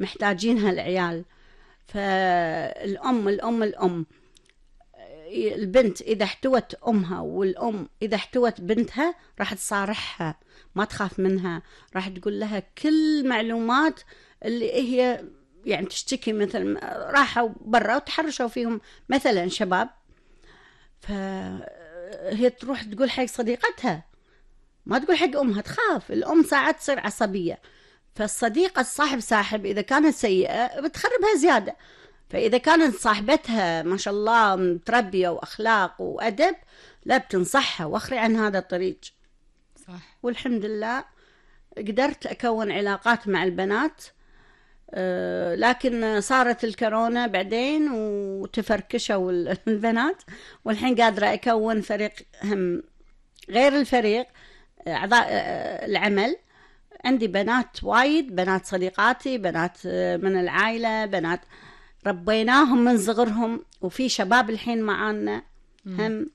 محتاجينها العيال. فالأم البنت إذا احتوت أمها والأم إذا احتوت بنتها راح تصارحها، ما تخاف منها، راح تقول لها كل معلومات اللي هي يعني تشتكي. مثل راحوا برا وتحرشوا فيهم مثلا شباب، فهي تروح تقول حق صديقتها، ما تقول حق أمها، تخاف. الأم ساعات تصير عصبية، فالصديقة الصاحب إذا كانت سيئة بتخربها زيادة. فإذا كانت صاحبتها ما شاء الله متربية وأخلاق وأدب، لا بتنصحها واخري عن هذا الطريق. صح. والحمد لله قدرت أكون علاقات مع البنات، لكن صارت الكورونا بعدين وتفركشوا البنات، والحين قادرة أكون فريق هم غير الفريق، أعضاء العمل. عندي بنات وايد، بنات صديقاتي، بنات من العائلة، بنات ربيناهم من صغرهم، وفي شباب الحين معانا، هم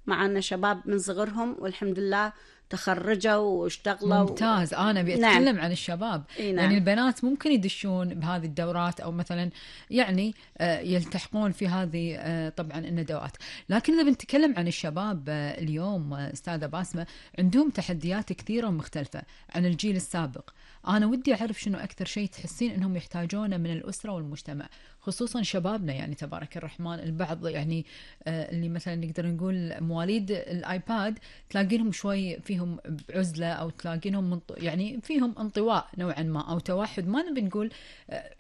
معانا شباب من صغرهم والحمد لله تخرجوا واشتغلوا. ممتاز. أنا بأتكلم عن الشباب. نعم. يعني البنات ممكن يدشون بهذه الدورات أو مثلا يعني يلتحقون في هذه طبعا الندوات، لكن إذا بنتكلم عن الشباب اليوم أستاذة باسمة، عندهم تحديات كثيرة ومختلفة عن الجيل السابق. أنا ودي أعرف شنو أكثر شيء تحسين أنهم يحتاجونه من الأسرة والمجتمع، خصوصا شبابنا. يعني تبارك الرحمن البعض يعني اللي مثلا نقدر نقول مواليد الآيباد تلاقينهم شوي فيهم بعزلة، أو تلاقينهم يعني فيهم انطواء نوعا ما أو توحد. ما نبي نقول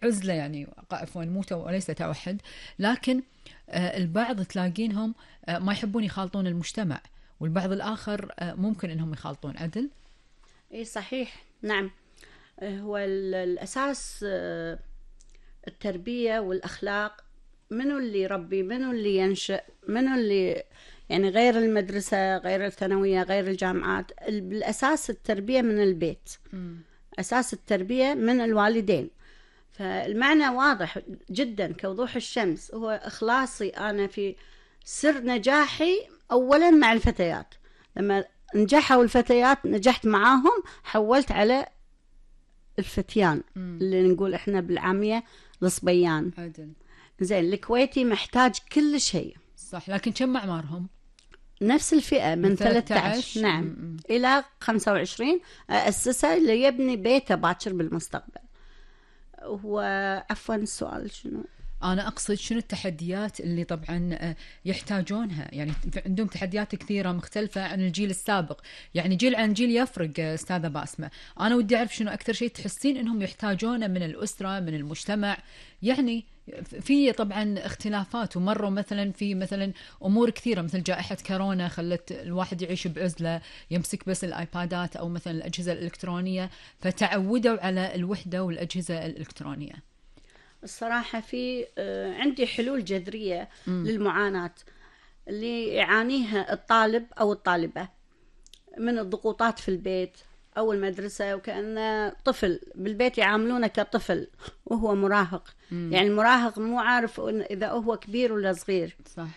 عزلة يعني عفوا وليس توحد، لكن البعض تلاقينهم ما يحبون يخالطون المجتمع، والبعض الآخر ممكن أنهم يخالطون. عدل؟ إيه صحيح. نعم. هو الأساس التربية والأخلاق. منو اللي يربي، منو اللي ينشئ، منو اللي يعني غير المدرسة، غير الثانوية، غير الجامعات. بالأساس التربية من البيت، أساس التربية من الوالدين. فالمعنى واضح جدا كوضوح الشمس، هو إخلاصي أنا في سر نجاحي أولا مع الفتيات. لما نجحوا الفتيات نجحت معاهم، حولت على الفتيان اللي نقول إحنا بالعامية الصبيان. عدل. زين. الكويتي محتاج كل شيء. صح. لكن كم أعمارهم؟ نفس الفئة من 13 نعم إلى 25 أسسه اللي يبني بيته باكر بالمستقبل. هو عفوا السؤال شنو؟ أنا أقصد شنو التحديات اللي طبعا يحتاجونها. يعني عندهم تحديات كثيرة مختلفة عن الجيل السابق، يعني جيل عن جيل يفرق أستاذة باسمة. أنا ودي أعرف شنو أكثر شيء تحسين أنهم يحتاجونه من الأسرة، من المجتمع. يعني في طبعا اختلافات، ومروا مثلا في مثلا أمور كثيرة مثل جائحة كورونا خلت الواحد يعيش بعزلة، يمسك بس الآيبادات أو مثلا الأجهزة الإلكترونية، فتعودوا على الوحدة والأجهزة الإلكترونية. الصراحة في عندي حلول جذرية للمعاناة اللي يعانيها الطالب أو الطالبة من الضغوطات في البيت أو المدرسة، وكأنه طفل بالبيت يعاملونه كطفل وهو مراهق. يعني المراهق مو عارف إذا هو كبير ولا صغير. صح.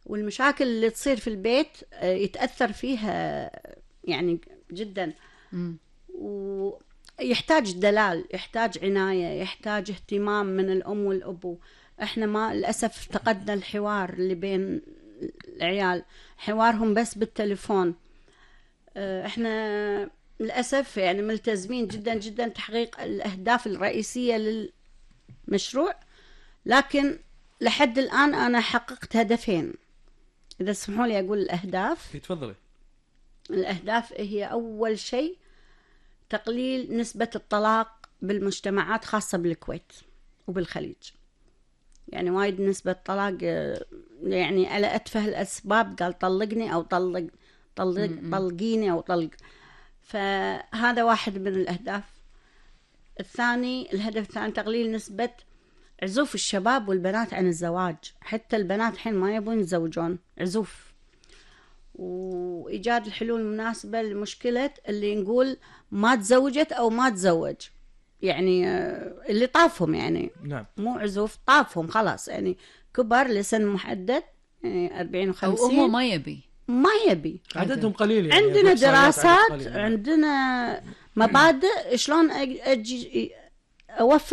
والمشاكل اللي تصير في البيت يتأثر فيها يعني جدا. يحتاج دلال، يحتاج عناية، يحتاج اهتمام من الأم والأبو. احنا ما للأسف افتقدنا الحوار اللي بين العيال، حوارهم بس بالتليفون. احنا للأسف يعني ملتزمين جدا جدا تحقيق الأهداف الرئيسية للمشروع، لكن لحد الآن أنا حققت هدفين. إذا تسمحوا لي أقول الأهداف. تفضلي. الأهداف هي أول شيء تقليل نسبة الطلاق بالمجتمعات خاصة بالكويت وبالخليج. يعني وايد نسبة طلاق، يعني على أتفه الأسباب، قال طلقني أو طلقيني أو طلق. فهذا واحد من الأهداف. الهدف الثاني تقليل نسبة عزوف الشباب والبنات عن الزواج. حتى البنات حين ما يبون يتزوجون، عزوف. وإيجاد الحلول المناسبة لمشكلة اللي نقول ما تزوجت أو ما تزوج، يعني اللي طافهم يعني. نعم. مو عزوف، طافهم خلاص، يعني كبر لسن محدد، يعني 40 و50، أو هو ما يبي عددهم قليل. يعني عندنا دراسات، عندنا مبادئ شلون أجي أوفر